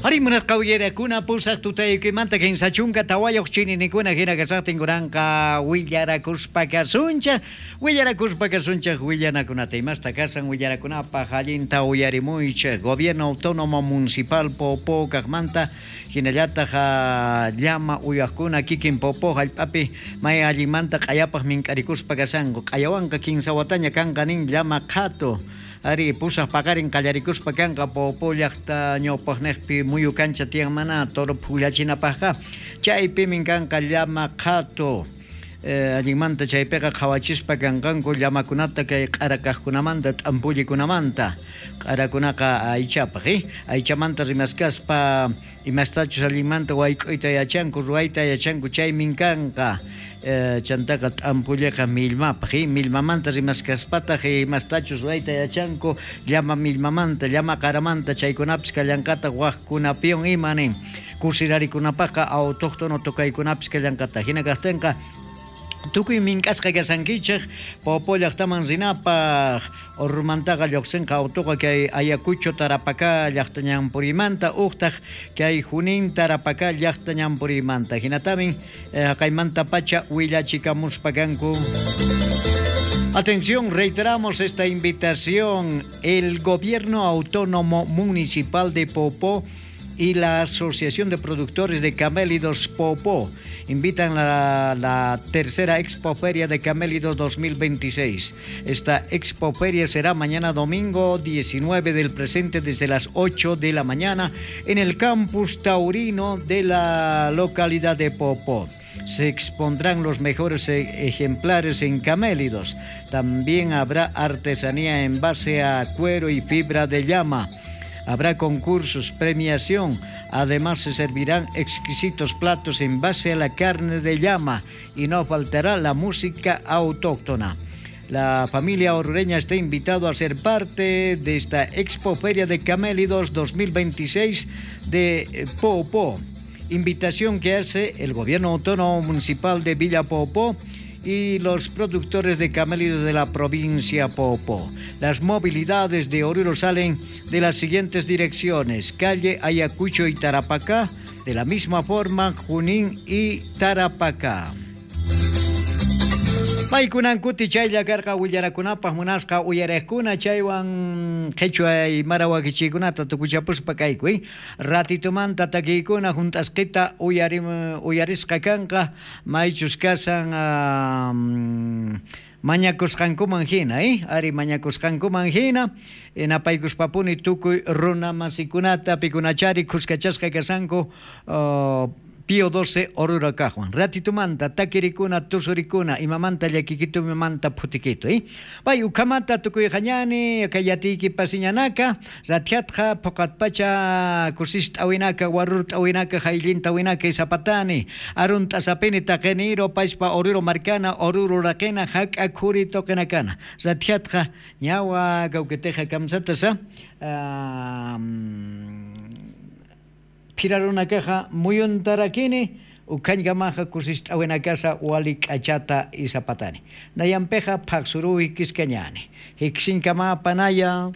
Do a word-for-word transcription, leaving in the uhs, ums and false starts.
Ari, munasqa willarakuna, pusaq tutaykimanta kinsa chunka tawayuq chininikuna jina kasaqtin kunanqa willarakuspa kasunchik, willarakuspa kasunchik willanakunata. Imasta kasan willarakunapaq allinta uyarimuychik. Gobierno Autónomo Municipal Popó kaqmanta, jinallataq, ah, llama uywaqkuna kikin Popó jallp'api may allinmanta q'ayapaq mink'arikuspa kasanku. Q'ayawanqa kinsa wataña kanqa nin llama qhatu. Ari, pusaq paqarin qallarikuspa kanqa Popó llaqta ñawpaqniqpi muyu kancha tiyan mana toro phullachinapaqqa. Chaypimin kanqa llama qhatu. Eh, allinmanta chaypiqa qhawachispa kanqanku llamakunata kay q'ara kaqkunamanta, t'ampullikunamanta. Q'arakunaqa aychapaq, ¿eh? Aychamanta rimaskaspa imastachus allinmanta wayk'uyta yachanku, ruwayta yachanku, chaymin kanqa. Eh, chantaqa t'ampulliqa millmapaq, ¿eh? Millmamanta rimaskaspataq, eh, imastachus ruwayta yachanku, llama millmamanta, llama qaramanta, chaykunapis kallanqataq waqkunapiwan ima nin. Kusirarikunapaqqa autóctono tukaykunapis kallanqataq. Jina kaqtinqa, tukuy mink'asqa kasankichik, Popó llaqtaman rinapaq, urrumantaqa lluqsinqa autoqa kay Ayacucho Tarapacá llaqta ñan puriymanta, uqtaq kay Junín Tarapacá llaqta ñan puriymanta. Jinatamin, eh, jaqaymantapacha willachikamuspa kanku. Atención, reiteramos esta invitación. El Gobierno Autónomo Municipal de Popó y la Asociación de Productores de Camélidos Popó invitan la, la tercera Expo Feria de Camélidos dos mil veintiséis. Esta Expo Feria será mañana domingo diecinueve del presente desde las ocho de la mañana en el campus taurino de la localidad de Popó. Se expondrán los mejores e-, ejemplares en camélidos. También habrá artesanía en base a cuero y fibra de llama. Habrá concursos, premiación. Además, se servirán exquisitos platos en base a la carne de llama y no faltará la música autóctona. La familia orureña está invitado a ser parte de esta Expo Feria de Camélidos dos mil veintiséis de, eh, Popó. Invitación que hace el Gobierno Autónomo Municipal de Villa Popó y los productores de camélidos de la provincia Popó. Las movilidades de Oruro salen de las siguientes direcciones: calle Ayacucho y Tarapacá, de la misma forma Junín y Tarapacá. Paykunan kuti chaylla karqa willarakunapaq munasqa uyariqkuna, chaywan qhichwa aymara wakichiykunata tukuchapuspa kaykuy. Ratitumanta takiykuna junt'asqita uyarim-, uyarisqa kanqa, maychus kasan, ah, mm, mañakusqankuman jina, ¿eh? Ari, mañakusqankuman jina, eh, napaykuspapuni tukuy runamasikunata, pikunachari khuskachasqa kasanku, ah, Pío doce Oruro kaqwan. Ratitumanta, takirikuna, tusurikuna, imamanta llakikitu, imamanta phutikitu, ¿eh? Pay ukhamata tukuyxañani, kay yatiykipasiñanaka, ratjatxa, phuqatpacha, kusist'awinaka, warurt'awinaka, jayllintawinaka, isapatani, arunt'asapini taqiniru, payspa Oruro markana, Oruro raqina, jak'a khuri tuqinakana. Ratjatxa, ñawa, kawkitixa kamsatasa, ah, mm, phirarunakaxa muyuntarakini, ukhañkamaxa kusist'awinakasa wali k'achata isapatani. Nayampixa phaqsuruw jikiskañani. Jiksiñkamapa naya.